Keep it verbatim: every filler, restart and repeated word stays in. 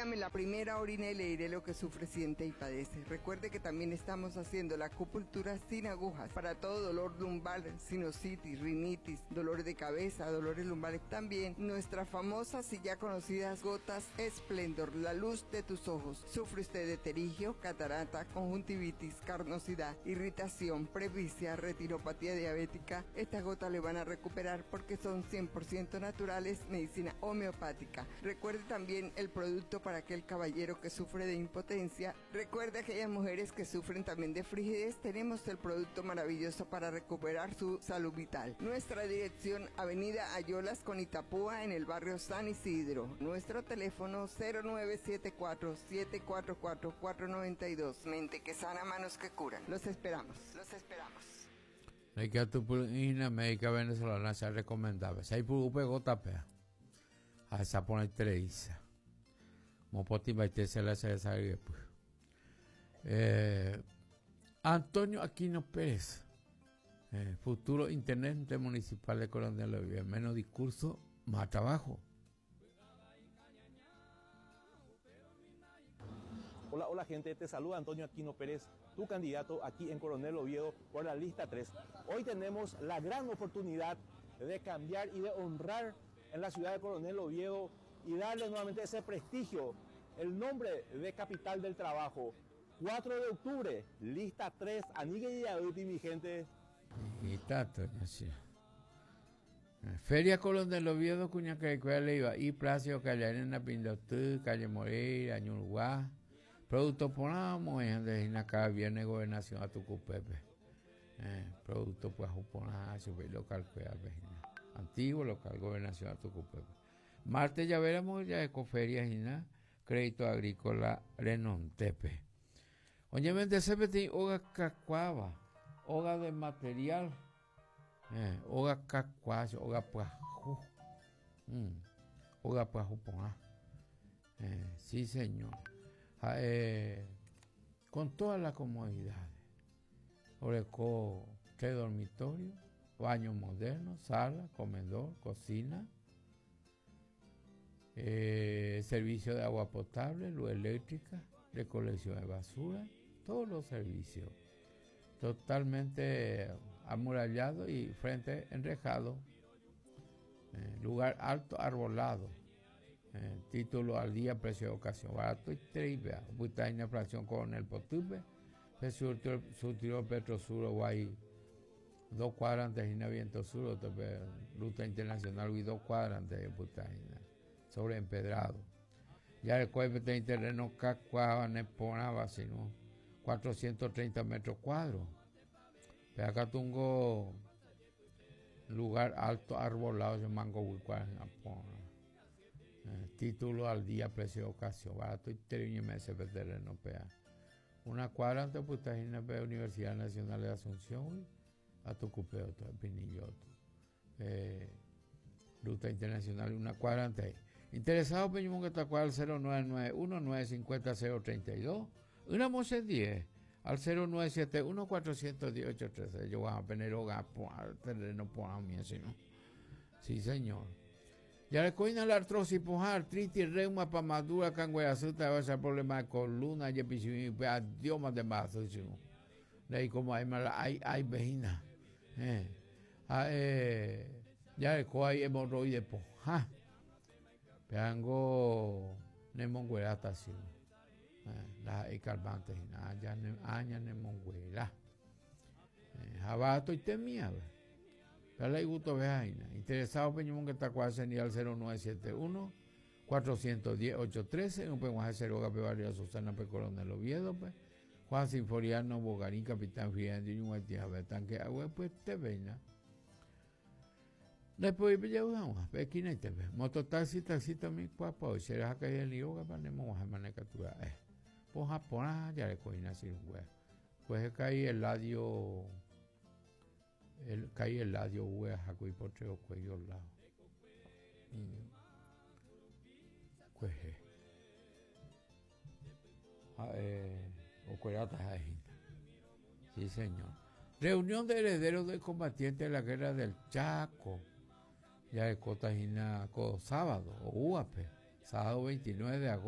Dígame la primera orina y le diré lo que sufre, siente y padece. Recuerde que también estamos haciendo la acupuntura sin agujas para todo dolor lumbar, sinusitis, rinitis, dolor de cabeza, dolores lumbares. También nuestras famosas y ya conocidas gotas Esplendor, la luz de tus ojos. Sufre usted de pterigio, catarata, conjuntivitis, carnosidad, irritación, presbicia, retinopatía diabética. Estas gotas le van a recuperar porque son cien por ciento naturales, medicina homeopática. Recuerde también el producto para aquel caballero que sufre de impotencia. Recuerde aquellas mujeres que sufren también de frigidez. Tenemos el producto maravilloso para recuperar su salud vital. Nuestra dirección, Avenida Ayolas con Itapúa, en el barrio San Isidro. Nuestro teléfono cero nueve siete cuatro, siete cuatro cuatro, cuatro noventa y dos. Mente que sana, manos que curan. Los esperamos, los esperamos. Médica médica venezolana se recomendaba. Se hay por gota pea. A esa pone tres. Mopoti baite se la se sabe pues. Eh, Antonio Aquino Pérez, eh, futuro intendente municipal de Coronel Oviedo. Menos discurso, más trabajo. Hola, hola gente, te saluda Antonio Aquino Pérez, tu candidato aquí en Coronel Oviedo por la lista tres. Hoy tenemos la gran oportunidad de cambiar y de honrar en la ciudad de Coronel Oviedo y darle nuevamente ese prestigio, el nombre de capital del trabajo. cuatro de octubre, lista tres, Anigue y Aduti, mi gente. Y tato, ya sí. Feria Coronel Oviedo, cuña que le iba, y Placio, calle Arena, Pindotú, calle Moreira, Ñurguá. Producto ponamos, de acá viene gobernación a Tucupepe. Eh, producto pues juponá, local, antiguo local, gobernación a Tucupepe. Martes ya veremos ya ecoferia y crédito agrícola Renontepe. Oye, vende C P T, hoga cacuaba, hoga de material, eh, hoga cacuá, hoga puajú, mm, hoga puajú poná. Eh, sí, señor. Ah, eh, con todas las comodidades. Oreco, tres dormitorios, baño moderno, sala, comedor, cocina, eh, servicio de agua potable, luz eléctrica, recolección de basura, todos los servicios. Totalmente amurallado y frente enrejado. Eh, lugar alto, arbolado. Eh, título al día, precio de ocasión, barato y trivia. Butaina, fracción Coronel Potupe, surtió Petrosur, Guay, dos cuadras antes de Viento Sur, ruta internacional, y dos cuadras antes de Butaina, sobre empedrado. Ya el cuerpo de terreno Cacuaba, Neponaba, sino cuatrocientos treinta metros cuadros. Pero acá tengo lugar alto, arbolado, yo mango, Huicuá, Eh, título al día, precio de ocasión, barato y tres meses de terreno pea. Una cuadra antes pues está en la Universidad Nacional de Asunción, a Tucupeo, todo Pinilloto. Eh, ruta internacional, una cuadra antes ahí. Interesado, Peñumón, que está cuadra al cero nueve nueve uno, nueve cincuenta, cero treinta y dos, una moce diez, al cero nueve siete uno, cuatrocientos diez, ocho trece. Yo voy a poner hogar, al terreno, por a mí, así, ¿no? Sí, señor. Ya le coina la artrosis, puja, artritis, reuma, pamadura, cangüeazuta, va a ser problema de columna, y episiotomía, pues, adiós, más de más, sí, sí. De ahí como hay mala, hay, hay vejina. Eh. Ah, eh, ya le coa hay hemorroides, puja. Peango, nemonguera, sí. Eh, la hay calmantes, y nada, ya ne, aña nemonguera. Eh, jabato y temía, ve. Dale gusto vejaina. Interesado Peñumón que está cual sería al cero nueve siete uno, cuatrocientos diez, ocho trece, un penguaje cero Gape Barrio Susana P. Coronel Oviedo, pues. Juan Sinforiano, Bogarín, Capitán Fidel, y un tía Betanque, agua, pues te veina. Después ya usamos, esquina y te ve. Mototaxi, taxi también, cuapa, hoy será que el yoga para nemo manecatura. Eh. Pues Japón, ya le cogí así, güey. Pues caí el ladio. El caí el ladio, güey, jaco y por tres cuello al lado. Mm. Pues, eh. Ah, eh, o cuerata jaina. Sí, señor. Reunión de herederos de combatientes de la guerra del Chaco. Ya de Cotajina, sábado, o U A P, sábado veintinueve de agosto.